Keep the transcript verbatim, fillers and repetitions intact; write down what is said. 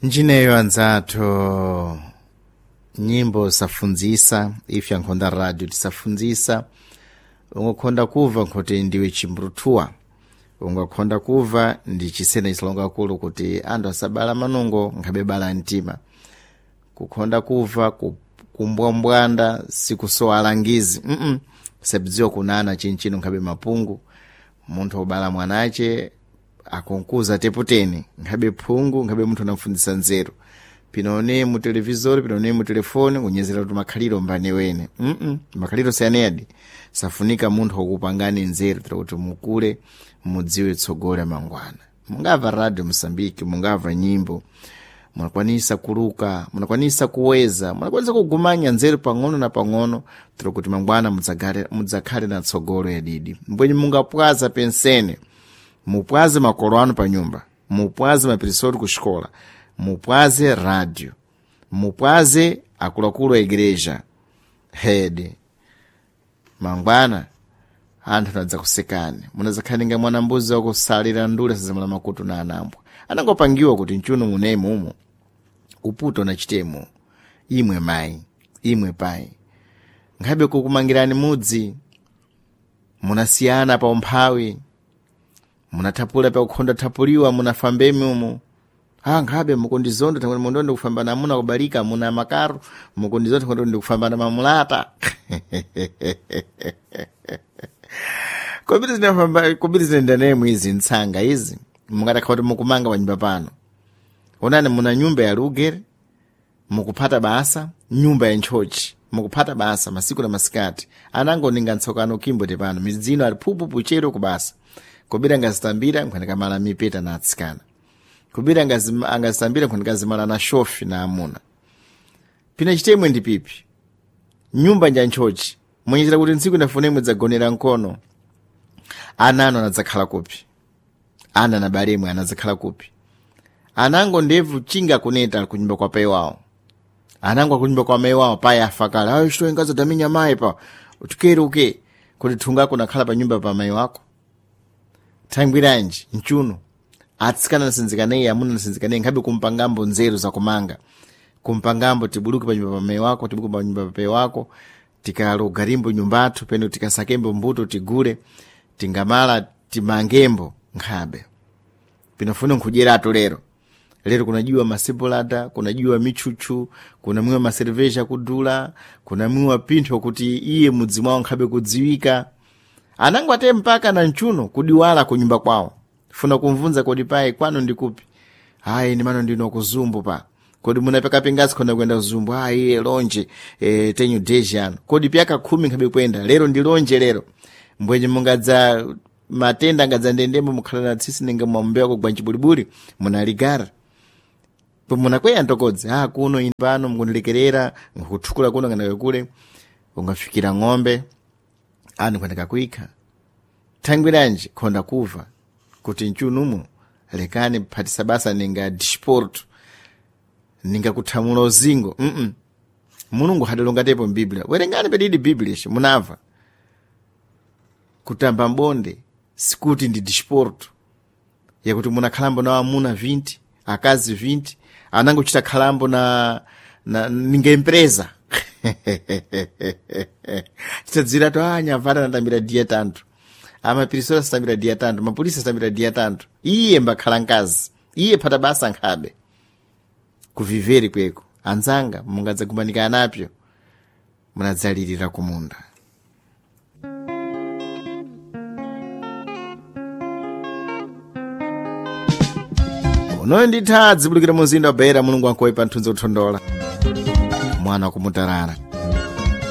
Njineyo anzathu, nyimbo safunzisa ife ankhonda radio tisafunzisa. Ungakhonda kuva nkhoti ndiwe chimbrutuwa, ungakhonda kuva ndi chisena chisalonga kulu kuti anthu asabala manungo nkhabe bala mtima. Kukhonda kuva kumbwambwanda sikusowa alangizi mm -mm. Sabdziwa kunana chinchino nkhabe mapungu. Munthu obala mwanache akonkuza teputeni nkhabe phungu, nkhabe munthu anamfundisa nzeru. Pinone mu televizori, pinone mu telefoni kunyezera kuti makhaliro mbane wene mm -mm. Makhaliro sianedi safunika munthu wokupangani nzeru tira kuti mukule mudziwe tsogolo mangwana. Mungava radio Mosambiki, mungava nyimbo, munakwanisa kuluka, munakwanisa kuweza, munakwanisa kugumanya nzeru pang'ono na pang'ono tira kuti mangwana mudzakhale na tsogolo yadidi. Mbwenye mungapwaza pensene, mupwaze makolo anu pa nyumba, mupwaze mapirisori ku xikola, mupwaze radio, mupwaze akuluakulu a igreja hede. Mangwana anthu anadzakusekani, munadzakhaninga mwana mbuzi wakusalira ndule sazimala makutu na anambwa anangopangiwa kuti mchuno munemo umo uputo na chitemo. Imwe mayi, imwe payi, nkhabe kukumangirani mudzi, munasiyana pa umphawi, munathapula pa kukhonda thapuliwa, munafambemi umo. Ah, nkhabe mukundizonda thangwe mundondo kufambana amuna kubalika muna makaro, mukundizonda thangwe ndikufambana mamulata. Kobiri zinafamba, kobiri zinendanemo izi ntsanga izi mungatakha kuti mukumanga panyumba pano. Onani muna nyumba ya lugere mukuphata basa, nyumba ya ntchochi mukuphata basa masiku na masikati. Anangoninga ntsokano kimbote pano midzino ali phuphupu chero kubasa. Kobiri angazitambira nkhwanikamala mipeta na atsikana, kubiri angazitambira nkhwanikazimala na shofi na amuna. Pina chitemwe ndi pipi nyumba nja ntchochi munyechera kuti ntsiku inafune mudzagonera nkono. Ana anu anadzakhala kupi? Ana na balemwe anadzakhala kupi? Anango ndebvu chinga kuneta kunyumba kwa pai wawo, anango akunyumba kwa mai wawo pai afa kale. Ayo chito ingazadaminya mayi pa utukeruke kuti thunga kunakhala pa nyumba pa mai wako. Thangwiranji mchuno atsikana nasinzikaneyi, amuna nasinzikaneyi, nkhabe kumpangambo nzeru zakumanga, kumpangambo tibuluke pa nyumba pa mai wako, tibuluke pa nyumba pa pai wako, tikalogarimbo nyumbathu peno tikasakembo mbuto tigule tingamala timangembo nkhabe pinofuna nkhudyeratu lero. Lero kunajiwa masebulada, kunajiwa michuchu, kunamwiwa maserveja kudula, kunamwiwa pinthu kuti iye mudzi mwawo nkhabe kudziwika. Anango ate mpaka na mchuno kudiwala kunyumba kwawo. Funa kumvunza kodi pai kwanu ndikupi? Ayi ndi mano ndino kuzumbu pa. Kodi munapekapingazi khona kuyenda kuzumbu? Ayi iye lonje e, tenyu deji ano. Kodi pyaka khumi nkhabe kuyenda lero ndi lonje lero. Mbwenye mungadza matenda angadza ndendemo mukhala na tsisi ninga mwambewa kugwa ncibulibuli munaligara. Munakweya ntokodzi ah kuno ine pano mukundilekerera nkuthukula kuno kana kule ungafikira ng'ombe anu kwenda kuikha. Thangwiranji khonda kuva kuti mchunumu lekani phatisa basa ninga disporto ninga kuthamula uzingo mm -mm. Mulungu hadalongatepo mbiblia, werengani pedidi biblia ishi munamva kutamba mbonde sikuti ndi disporto yakuti munakhalambo na amuna vinti akazi vinti anangochita khalambo na, na ninga empresa chitadzira to anyavata anatambira dia tantu, amapirisora asatambira dia tantu, mapolisi asatambira dia tantu, iye mbakhala nkazi iye phata basa nkhabe kuviveri kweko. Anzanga mungadzagumanika anapyo munadzalirira kumunda. Unoyo nditha adzibulukira muzinda wa Beira. Mulungu ankoyi pa nthunzi kuthondola mwana wakumutarara.